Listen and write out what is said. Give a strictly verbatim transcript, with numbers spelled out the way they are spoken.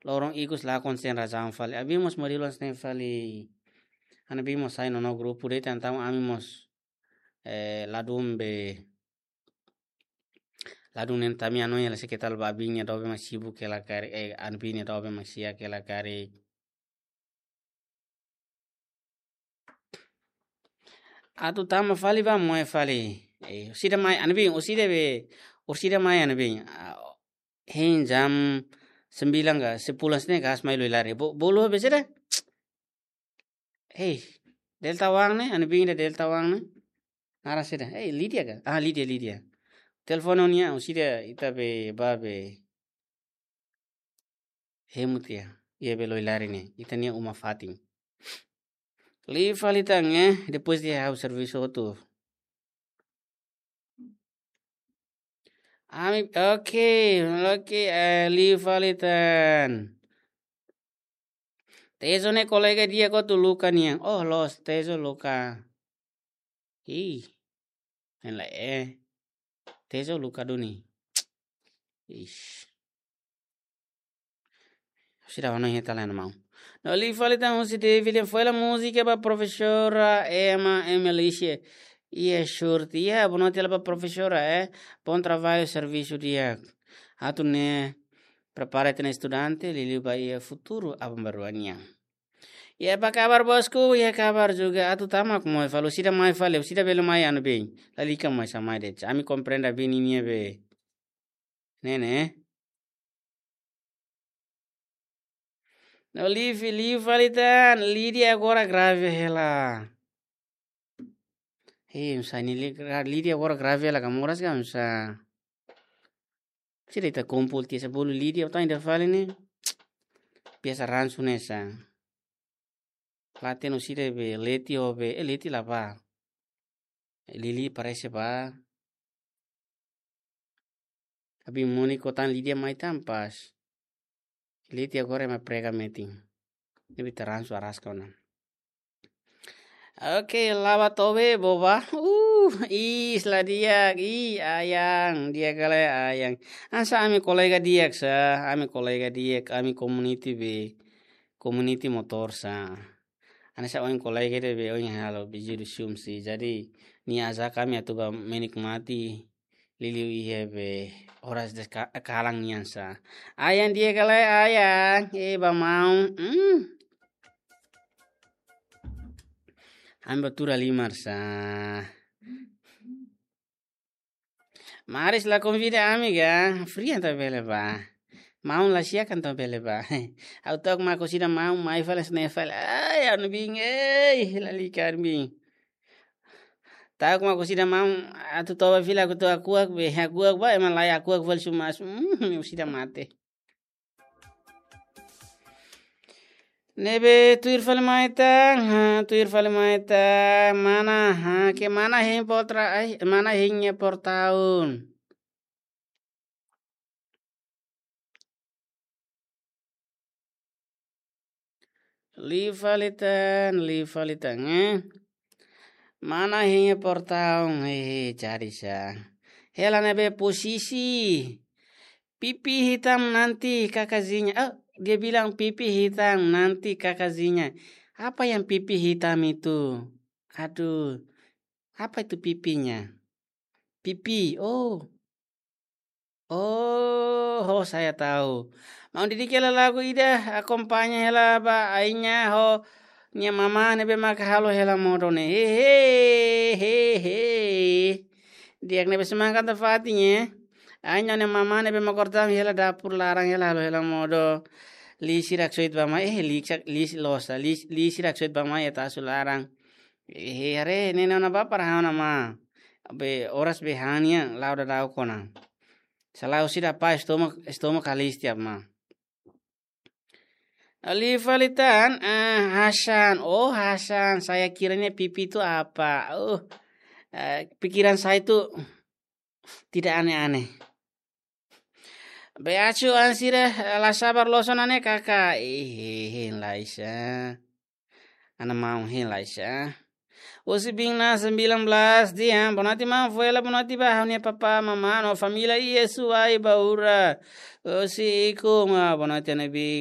loron ikus lakon sein razaun fali. Abin mós moris loos ne'e fali. Ana bin mós sai no grupu de'it, entaun ami mós, eh, ladún be, ladún ne'e tanba ami hanoin hela se katak ba abin nia doben mak sibuk hela karik, eh, ana bin nia doben mak sibuk hela karik. Atu tama fali ba moe fali. Eh, orsida mai ana bin, orsida be, orsida mai ana bin. Ah, hein jam sembilan ka, sepuluh sne gas mai loi lari. Bo-, bolu be saida? Hei, Delta One ne'e, ana bin ida Delta One ne'e. Naran saida? Hei, Lydia ka? Ah, Lydia, Lydia. Telefone nia, orsida ita be, ba be. Hemu tiha, iha be loi lari ne'e, ita-nia uma fatin. Liu fali tan, eh, depois de ha'u servisu hotu. Ami, oke, oke, eh, liu fali tan. Tezo ne'e kolega di'ak ka Luca nian. Oh, loos, Tezo Luca. Ih, hein lai, eh. Tezo Luca duni. Ish. Sira wana heta la na mau. No liu fali tan husi David, foin hela múzika ba profesora Emma Emelice. Iha short, iha, boa noite hela ba profesora, eh. Bom trabalho, servisu di'ak. Atu ne'e prepara ita-nia estudante, liuliu ba iha futuru aban-bainrua nian. Iha, apa kabar bosku? Iha kabar juga. Atu tama ka moe fali, orsida mai fali, orsida bele mai ana bin. Lalika mai sa mai de'it. Ami komprende abin ninia be. Ne'e, ne'e. No liu, liu fali tan, Lydia agora grave hela. Hei, oinsá ne'e Li-, Lydia agora grave hela ka moras ka oinsá. Sira ita kumpul tiha sa bolu Lydia, atu ida fali ne'e. Biasa ransu ne'e sa. Late no sira be Leti ho be, eh, Leti la ba. Lili parese ba. Abin Moniko tan Lydia mai tan pas. Leti agora ema prega metin. Ne'ebé ita ransu araska ona. Oke, laba tobe boba. Uh, is la di'ak, i ayang, di'ak ka lae ayang. Hanesan ami kolega di'ak sa, ami kolega di'ak, ami community be, community motor sa. Hanesan ohin kolega ida be ohin halo be juru sumsi. Jadi, nia ajak ami atu ba menikmati liuliu iha be oras des ka-, kalan nian sa. Ayang di'ak ka lae ayang, eh, ba maun. Hmm. Ami ba tuur halimar sa. Maris la konvida ami ka, fria entaun bele ba. Maun la siakan entaun bele ba. Ha'u ta'uk mak orsida maun mai fali hanesan ne'e fali. Ai, ana bin, ei, lalika ana bin. Ta'uk mak orsida maun atu toba fila aku toba kuak be, kuak ba, ema lai kuak fali sumas. Hmm, orsida mate. Ne'ebé tuir fali mai tan, ha, tuir fali mai tan, mana, ha, ke mana hein potra, ai, mana hein nia portaun. Liu fali tan, liu fali tan, eh. Mana hein nia portaun, eh, jadi sa. Hela ne'ebé posisi. Pipi hitam nanti kakazinha. Ah, dia bilang pipi hitam nanti kakazinha. Apa yang pipi hitam itu? Aduh, apa itu pipinya? Pipi, oh. Oh, oh, saya tahu. Maun didik hela lagu ida, akompaña hela ba ainya ho nia mama ne'ebé maka halo hela modo ne'e. He, he, he, he. Di'ak ne'ebé semangat ta fatin, eh. Ainya nia mama ne'ebé maka kortam hela dapur laran hela halo hela modo. Lisi raksoit ba mai, eh, lisi, lisi losa, lisi, lisi raksoit ba mai eta asu laran. Eh, haree, ne'e ona ba para hana ma. Be oras be hania, lau da dau kona. Salau sida pa estoma, estoma kalis tiap ma. Liu fali tan, eh, Hasan. Oh, Hasan, saya kiranya pipi itu apa? Oh, eh, pikiran saya itu tidak aneh-aneh. Be acu an sira, eh, la sabar loos ona ne'e kaka. Ih, hein lai sa. Ana maun hein lai sa. Husi Bina sembilan belas dia, boa noite maun, foin hela boa noite ba ha'u-nia papá, mamá, no família iha Suai Baura. Husi Ikuma, boa noite ana bin.